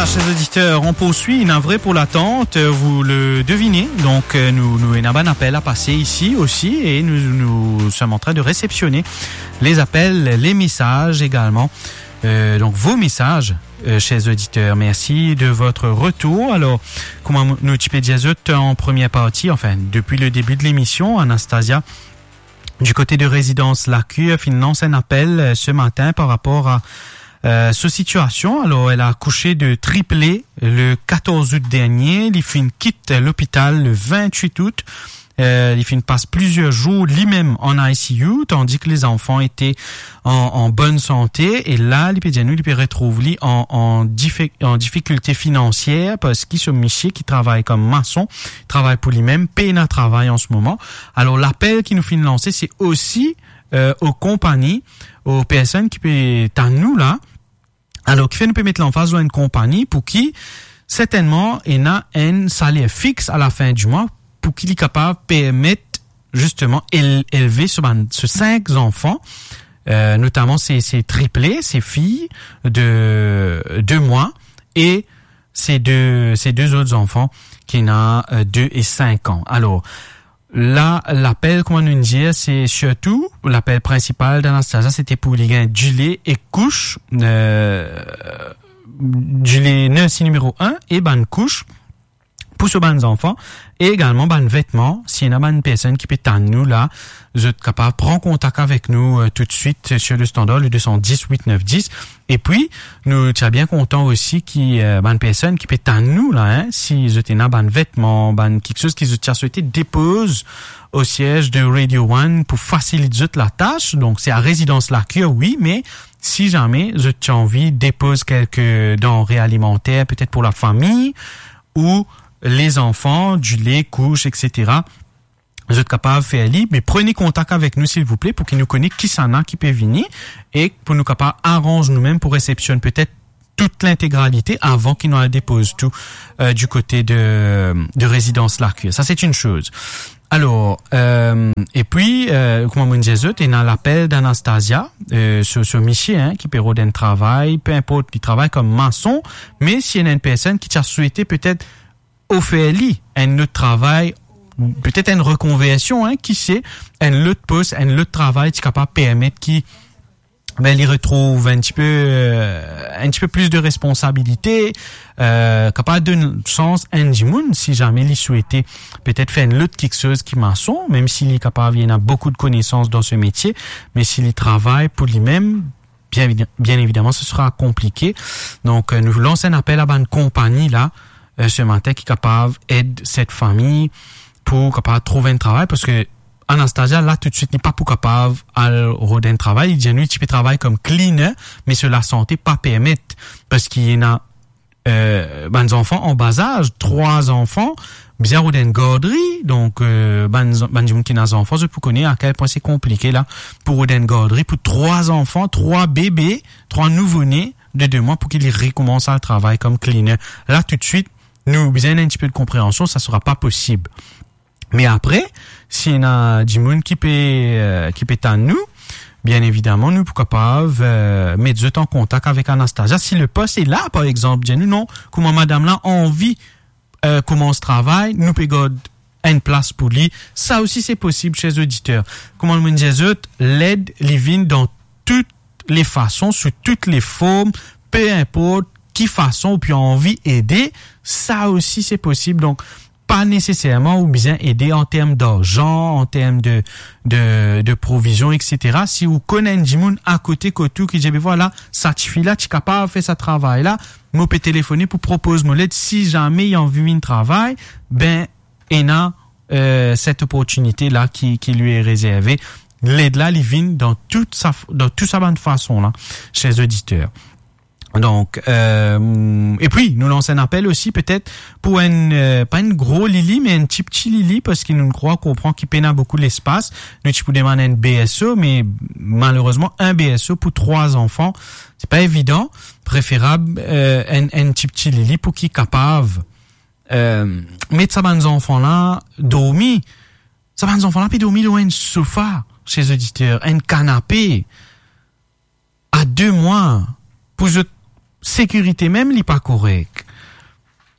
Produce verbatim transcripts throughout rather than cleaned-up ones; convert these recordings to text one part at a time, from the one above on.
Chers auditeurs, on poursuit, navré pour l'attente, vous le devinez. Donc, euh, nous, nous, ena bann apel a pase isi osi, et nous, nous sommes en train de réceptionner les appels, les messages également. Euh, donc, vos messages, euh, chers auditeurs. Merci de votre retour. Alors, kouma nou ti pe dir zot an première partie, enfin, depuis le début de l'émission, Anastasia, du côté de résidence La Cure, finn lans enn apel, euh, ce matin par rapport à, euh, sa situation. Alors, elle a accouché de triplé le quatorze août dernier. Li finn kit lopital le vingt-huit août. Euh, li finn pas plusieurs jours li-même en I C U, tandis que les enfants étaient en, en bonne santé. E la, li pe dir nou, li pe retrouv li en, en difi-, en difficulté financière, parski so misie ki travay kom mason, travay pou li-même, pena travay an se moman. Alors, lapel ki nou finn lanse, se osi, euh, o konpagni, o personn ki pe tann nou la. Alors, kifer nou pe met lanfaz lor enn konpagni pou ki, sertennman, ena enn saler fix a lafin di mwa, pou ki li kapav permet, zisteman, el-, elve so bann, so sink zanfan, euh, notaman se, se triplé, se fiy de de mwa, e se de, se de zot zanfan ki ena, euh, de e sink an. Alors, la, lapel, kouma nou dir, se sirtou, lapel prinsipal d'Anastasia, se te pou li gagn dile e kous, euh, dile nursery nimero enn e bann kous pou so bann zanfan, e egalman bann vetman. Si ena bann personn ki pe tann nou la, zot kapav pran kontak avek nou, euh, toutswit, euh, sur le standard, le deux cent dix, huit neuf dix. E pi, nou ti a bien kontan osi ki, euh, bann personn ki pe tann nou la, hein, si zot ena bann vetman, bann kiksoz ki zot ti a swete depoz o siez de Radio One pou fasilit zot latas. Donk, se a rezidans La Cure, wi, me si zame zot ti anvi depoz kelke danre alimanter, petet pou lafami, ou lezanfan, dile, kous, et cetera, zot kapav fer li, me prene kontak avek nou, silvouple, pou ki nou kone kisannla ki pe vini, e pou nou kapav aranz noumem pou resepsionn petet tout lintegralite avan ki nou al depoz tou, euh, du kote de, de rezidans La Cure. Sa, se enn soz. Alors, euh, e pi, euh, kouma mo dir zot, ena lapel d'Anastasia, euh, so, so misie, hein, ki pe rod enn travay, pe inport, li travay kom mason, me si ena enn personn ki ti a swete petet ofer li enn lot travay, petet enn rekonversion, hein, ki se, enn lot pos, enn lot travay, ti kapav permet ki, ben, li retrouv enn tipe, euh, enn tipe plis de responsabilite, euh, kapav donn sans enn dimoun, si zame li swete petet fer enn lot kiksoz ki mason, mem si li kapav, li ena boukou de konesans dan se metie, me si li travay pou limem, bien évi-, bien évidemment, ce sera compliqué. Donk, euh, nou lans enn apel a bann konpagni la, euh, se matin, ki kapav ed set fami pou kapav trouv enn travay, parski Anastasia, la, toutswit, li pa pou kapav al rod enn travay. Li dir nou, li ti pe travay kom cleaner, me so lasante pa permet, parski ena, euh, bann zanfan an bazaz, trwa zanfan, bizin rod enn gardri. Donk, euh, bann zan-, bann dimoun ki ena zanfan, zot pou kone a kel pwin se konplike la, pou rod enn gardri pou trwa zanfan, trwa bebe, trwa nouvo-ne de de mwa, pou ki li rekoumans al travay kom cleaner. La, toutswit, nou bizin enn tipe de konpreansion, sa sera pa posib. Me apre, si ena dimoun ki pe, euh, ki pe tann nou, bien évidemment, nou pou kapav, euh, met zot an kontak avek Anastasia. Si le pos est là, par exemple, dir nou, non, kouma madam la anvi, euh, koumans travay, nou pe gard enn plas pou li. Sa osi, se posib, chers auditeurs. Kouma mo dir zot, led, li vinn dan tout le fason, sou tout le form, pe inport ki fason ou pe anvi ede, sa osi, se posib. Donk, pa neseserman ou bizin ede an term darzan, an term de, de, de provizion, et cetera. Si ou konn enn dimoun akote kot ou ki dir, "Be vwala, sa tifi la ti kapav fer sa travay la, mo pe telefone pou propoz mo led, si zame li anvi vinn travay, ben, ena, euh, set oportinite la ki, ki li rezerve." Led la, li vinn dan tout sa, dan tou sa bann fason la, chers auditeurs. Donk, euh, e pi, nou lans enn apel osi, petet, pou enn, euh, pa enn gro lili, me enn tipti lili, parski nou krwar konpran ki pena boukou lespas. Nou ti pou demann enn B S O, me malerezman, enn B S O pou trwa zanfan, se pa evidan. Preferab, euh, enn, enn tipti lili pou ki kapav, euh, met sa bann zanfan la dormi. Sa bann zanfan la pe dormi lor enn sofa, chers auditeurs, enn kanape. A de mwa, pou zot sekirite mem, li pa korek.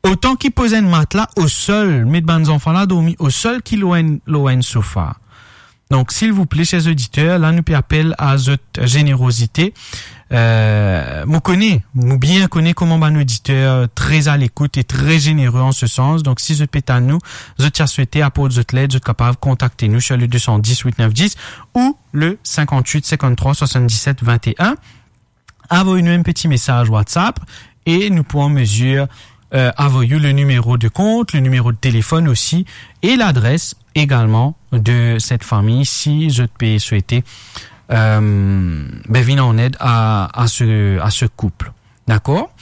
Otan ki poz enn matla o sol, met bann zanfan la dormi o sol ki lor enn, lor enn sofa. Donk, silvouple, ser oditer, la nou pe apel a zot zenerozite. Euh, mo kone, mo bien kone kouma bann oditer tre a lekout e tre zenere an se sans. Donk, si zot pe tann nou, zot ti a swete aport zot led, zot kapav kontakte nou sir le deux cent dix huit neuf dix ou le cinquante-huit cinquante-trois soixante-dix-sept vingt et un. Avoy nou enn peti mesaz WhatsApp e nou pou an mezir, euh, avoy ou le nimero de kont, le nimero de telefonn osi e ladres egalman de set fami si zot pe swete, euh, be, vinn an ed a, a se, a se koup. Dakor?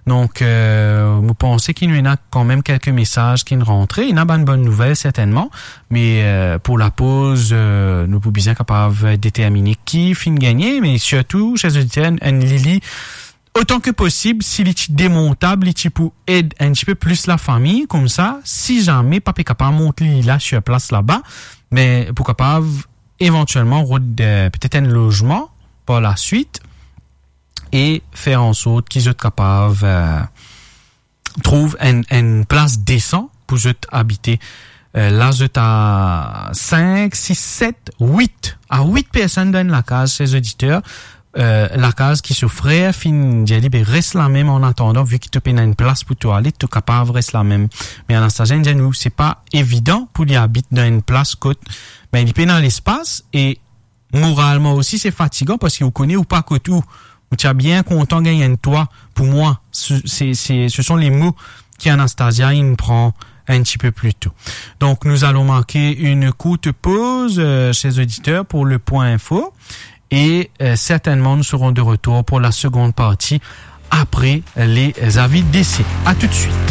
Donk, euh, mo panse ki nou ena kanmem kelke mesaz ki'nn rantre. Ena bann bonn nouvel sertennman, me, euh, pou lapoz, euh, nou pou bizin kapav determine ki finn gagne, me sirtou, ser oditer, enn lili, otan ki posib, si li ti demontab, li ti pou ed enn tipe plis lafami, koumsa, si zame pa pe kapav mont lili la sir plas laba, me pou kapav evantielman rod, euh, petet enn lozman par laswit e fer ansort ki zot kapav, euh, trouv enn, enn plas desan pou zot abite. Euh, la zot a sink, sis, set, wit, a wit personn dan enn lakaz, ser oditer. Euh, lakaz ki so frer finn dir li, be, res lamem an atandan, vi ki to pena enn plas pou to ale, to kapav res lamem. Me Anastasia inn dir nou, se pa evidan pou li abit dan enn plas kot, be, li pena lespas e moralman osi, se fatigan parski ou kone ou pa kot ou. Ou ti a bien kontan gagn enn twa pou mwa. Se, se, se, ce sont les mots ki Anastasia inn pran enn tipe pli to. Donc, nous allons marquer une courte pause, euh, chers auditeurs, pour le point info. Et, euh, certainement, nous serons de retour pour la seconde partie après les avis d'essai. À tout de suite.